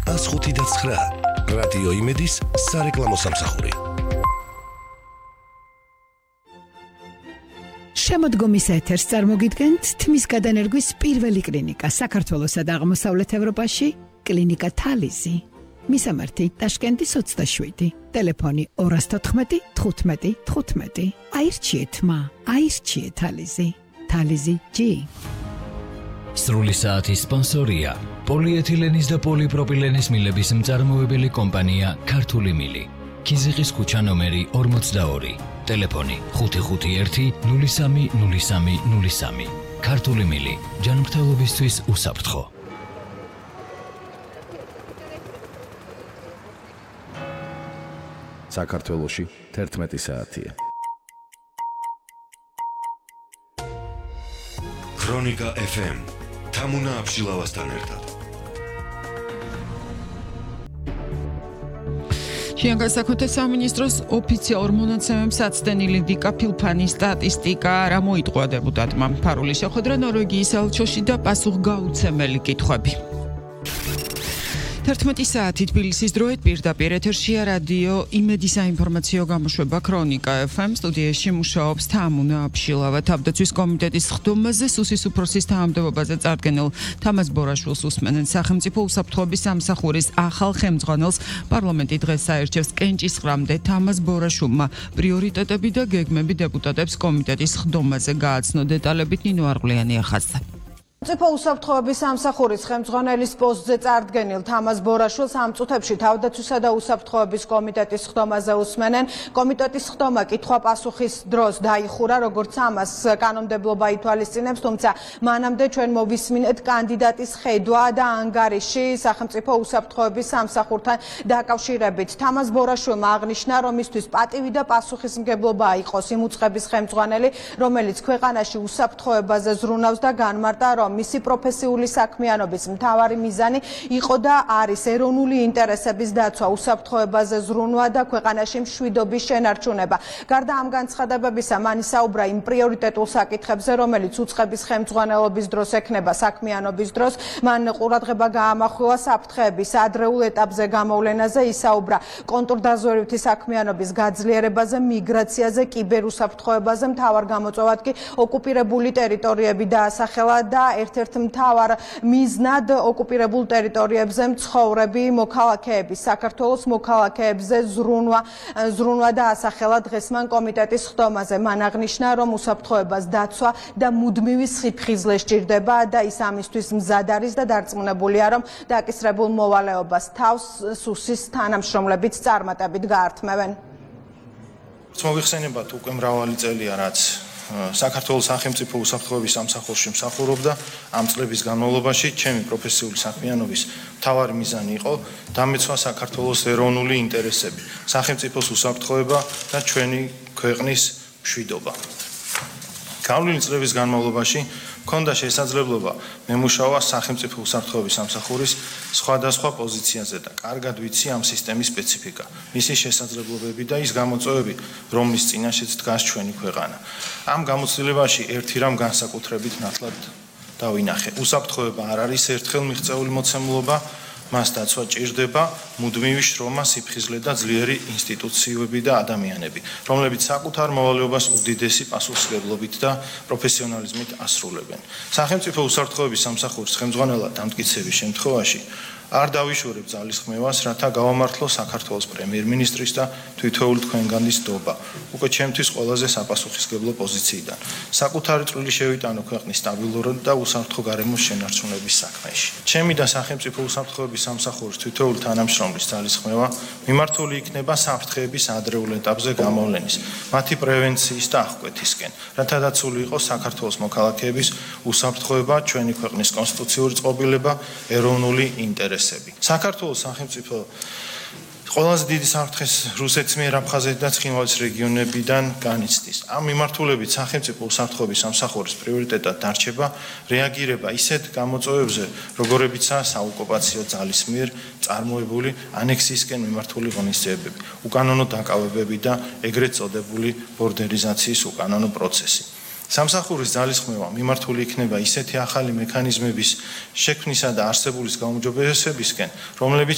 105.9 რადიო იმედის სარეკლამო სამსახური. შემოდგომის ეთერს წარმოგიდგენთ თმის გადანერგვის პირველი კლინიკა საქართველოსა და აღმოსავლეთ ევროპაში, კლინიკა თალიზი. მისამართი ტაშკენტის 27, ტელეფონი 214 15 15. აირჩიეთ მა, აირჩიეთ თალიზი. თალიზი G. სრული საათის სპონსორია პოლიეთილენის და პოლიპროპილენის მილების მწარმოებელი კომპანია ქართული მილი. ქიზიყის ქუჩა ნომერი 42, ტელეფონი 551 03 03 03. ქართული მილი, ჯანმრთელობისთვის უსაფრთხო. საქართველოში 11 საათია. ქრონიკა FM თამუნა აბშილავასთან ერთად. შინაგან საქმეთა სამინისტროს ოფიციალურ მონაცემებს აცდენილი დიკა ფილფანის სტატისტიკა არ მოიტყვა დეპუტატმა. ფარული შეხვედრა ნორვეგიის ელჩოში და პასუხგაუცემელი კითხვები. 11 საათი თბილისის დროით პირდაპირ ეთერშია რადიო იმედის საინფორმაციო გამოშვება ქრონიკა FM. სტუდიაში მუშაობს თამუნა აბშილავა. თავდაცვის კომიტეტის ხდომაზე სუსის უფროსის თანამდებობაზე წარდგენილ თამაზ ბორაშვილს უსმენენ. სახელმწიფო უსაფრთხოების სამსახურის ახალ ხელმძღვანელს პარლამენტი დღეს აერჩევს. კენჭისყრამდე თამაზ ბორაშულმა პრიორიტეტები და გეგმები დეპუტატებს კომიტეტის ხდომაზე გააცნო. დეტალებით ნინო არღლიანი ახაძდა. სახელმწიფო უსაფრთხოების სამსახურის ხელმძღვანელის პოსტზე წარდგენილ თამაზ ბორაშვილს ამ წუთებში თავდაცვისა და უსაფრთხოების კომიტეტის ხდომაზე უსმენენ. კომიტეტის ხდომა კითხვა-პასუხის დროს დაიხურა, როგორც ამას კანონმდებლობა ითვალისწინებს, თუმცა მანამდე ჩვენ მოვისმინეთ კანდიდატის ხედვა და ანგარიში სახელმწიფო უსაფრთხოების სამსახურთან დაკავშირებით. თამაზ ბორაშვილმა აღნიშნა, რომ მისთვის პატივი და პასუხისმგებლობა იყოს იმ უწყების ხელმძღვანელი, რომელიც ქვეყანაში უსაფრთხოებაზე ზრუნავს და განმარტა, რომ მისი პროფესიული საქმიანობის მთავარი მიზანი იყო და არის ეროვნული ინტერესების დაცვა, უსაფრთხოებაზე ზრუნვა და ქვეყანაში მშვიდობის შენარჩუნება. გარდა ამ განცხადებებისა, მან ისაუბრა იმ პრიორიტეტულ საკითხებზე, რომელიც უწყების ხელმძღვანელობის დროს ექნება საქმიანობის დროს. მან ყურადღება გაამახვილა საფრთხეების ადრეულ ეტაპზე გამოვლენაზე, ისაუბრა კონტრდაზვერვითი საქმიანობის გაძლიერებაზე, მიგრაციაზე, კიბერუსაფრთხოებაზე. მთავარ გამოწვევად კი ოკუპირებული ტერიტორიები დაასახელა და ერთ-ერთ მთავარ მიზნად ოკუპირებულ ტერიტორიებზე მცხოვრები მოქალაქეების, საქართველოს მოქალაქეებზე ზრუნვა დაასახელა დღეს მან კომიტეტის ხდომაზე. მან აღნიშნა, რომ უსაფრთხოებას დაცვა და მუდმივი სიფხიზლე სჭირდება და ის ამისთვის მზად არის და დარწმუნებულია, რომ დაკისრებულ მოვალეობას თავს სუსის თანამშრომლებიც წარმატებით გაართმევენ. მოგიხსენებათ, უკვე მრავალი წელია, რაც საქართველოს სახელმწიფო უსაფრთხოების სამსახურში მსახურობდა. ამ წლების განმავლობაში ჩემი პროფესიული საქმიანობის მთავარი მიზანი იყო დამეცვა საქართველოს ეროვნული ინტერესები, სახელმწიფოს უსაფრთხოება და ჩვენი ქვეყნის მშვიდობა. გავლილი წლების განმავლობაში მქონდა შესაძლებლობა მემუშავა სახელმწიფო უსაფრთხოების სამსახურის სხვადასხვა პოზიციაზე და კარგად ვიცი ამ სისტემის სპეციფიკა, მისი შესაძლებლობები და ის გამოწვევები, რომლის წინაშეც დგას ჩვენი ქვეყანა. ამ გამოცდილებაში ერთი რამ განსაკუთრებით ნათლად დავინახე. უსაფრთხოება არ არის ერთხელ მიღწეული მოცემულობა, მას დაცვა ჭირდება მუდმივი შრომა, სიფხიზლე და ძლიერი ინსტიტუციები და ადამიანები, რომლებიც საკუთარ მოვალეობას უდიდესი პასუხისმგებლობით და პროფესიონალიზმით ასრულებენ. სახელმწიფო უსაფრთხოების სამსახურის ხელმძღვანელად დამტკიცების შემთხვევაში არ დავიშორებ ძალისხმევას, რათა გავამართლო საქართველოს პრემიერ-მინისტრის და თითოეული თქვენგანის დობა, უკვე ჩემთვის ყველაზე საპასუხისმგებლო პოზიციიდან. საკუთარი წვლილი შევიტანო ქვეყნის სტაბილურად და უსაფრთხო გარემოს შენარჩუნების საქმეში. ჩემი და სახელმწიფო უსაფრთხოების სამსახურის თითოეული თანამშრომლის ძალისხმევა მიმართული იქნება საფრთხეების ადრეულ ეტაპზე გამოვლენის, მათი პრევენციის და აღკვეთისკენ, რათა დაცული იყოს საქართველოს მოქალაქეების უსაფრთხოება, ჩვენი ქვეყნის კონსტიტუციური წყობილება, ეროვნული ინტერესები. საქართველოს სახელმწიფო ყველაზე დიდი საფრთხეს რუსეთის მიერ აფხაზეთი და ცხინვალის რეგიონებიდან განიცდის. ამ მიმართულებით სახელმწიფო უსაფრთხოების სამსახურის პრიორიტეტად დარჩება რეაგირება ისეთ გამოწვევებზე, როგორებიცაა საოკუპაციო ძალის მიერ წარმოებული ანექსიისკენ მიმართული ღონისძიებები, უკანონო დაკავებები და ეგრეთ წოდებული ბორდერიზაციის უკანონო პროცესი. სამსახურის ძალისხმევა მიმართული იქნება ისეთი ახალი მექანიზმების შექმნისა და არსებულის გაუმჯობესებისკენ, რომლებიც